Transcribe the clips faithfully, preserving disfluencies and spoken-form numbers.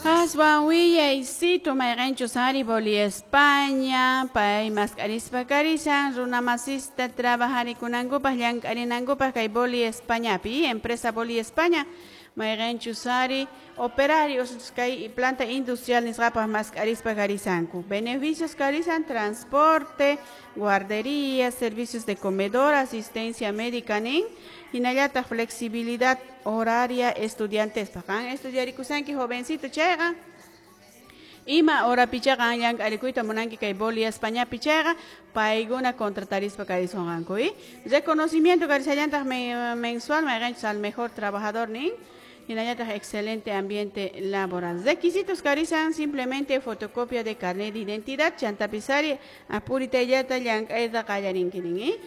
Aswan willaysito mayqanchus ari Boli España pay mask'arispa karisan runa masista trabajarikunankupaq llank'arinankupaq kay Boli Españapi empresa Boli España mayqanchus ari operarios kay planta industrial nisqapaq mask'arispa karisanku beneficios karisan transporte, guardería, servicios de comedor, asistencia médica nin hinallataq flexibilidad horaria estudiantes qan estudiarikusanki jovencito chayqa ima hora pichaqa llank'arikuyta munanki kay Boli Españapi chayqa paykuna contratarispa karisunqanku y reconocimiento karisallantaq mensual mayqanchus al mejor trabajador nin hinallataq excelente ambiente laboral. Requisitos karisan simplemente fotocopia de carnet de identidad chantapisari apuritayllata llank'ayta qallarinki nin ¿eh?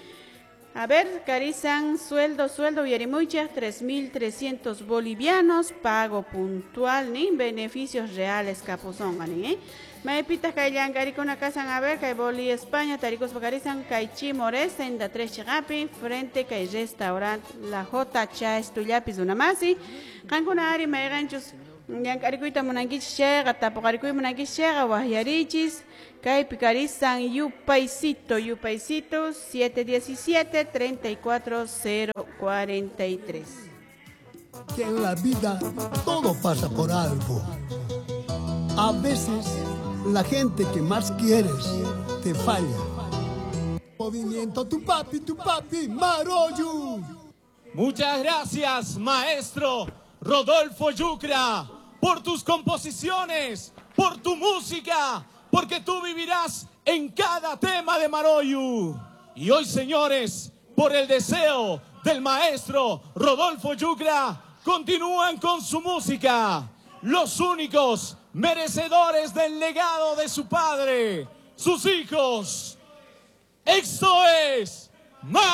A ver, karisan sueldo, sueldo uyarimuychaq tres mil trescientos bolivianos, pago puntual, nin beneficios reales kapusonqa nin, ¿eh? Maypitaq kay llank'arikuna kasan, a ver, kay Boli España, tarikuspa karisan, kay Chimores, senda tres chiqapi, frente kay restaurant La J Chastullapi runamasi. Qankuna ari mayqanchus llank'arikuyta munankichis chayqa, tapuqarikuy munankichis chayqa, waqyarichis. Kaypi karisan yupaysito, yupaysito siete diecisiete, treinta y cuatro, cero cuarenta y tres. Que en la vida todo pasa por algo. A veces la gente que más quieres te falla. Movimiento tu papi, tu papi, Maroyu. Muchas gracias, maestro Rodolfo Yucra, por tus composiciones, por tu música, porque tú vivirás en cada tema de Maroyu. Y hoy, señores, por el deseo del maestro Rodolfo Yucra, continúan con su música. Los únicos merecedores del legado de su padre, sus hijos. Esto es Maroyu.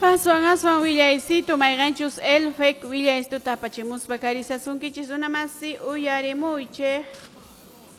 Aswan aswan willaysito mayqanchus elfek willaystuta apachimuspa karisasunkichis runamasi uyarimuychik.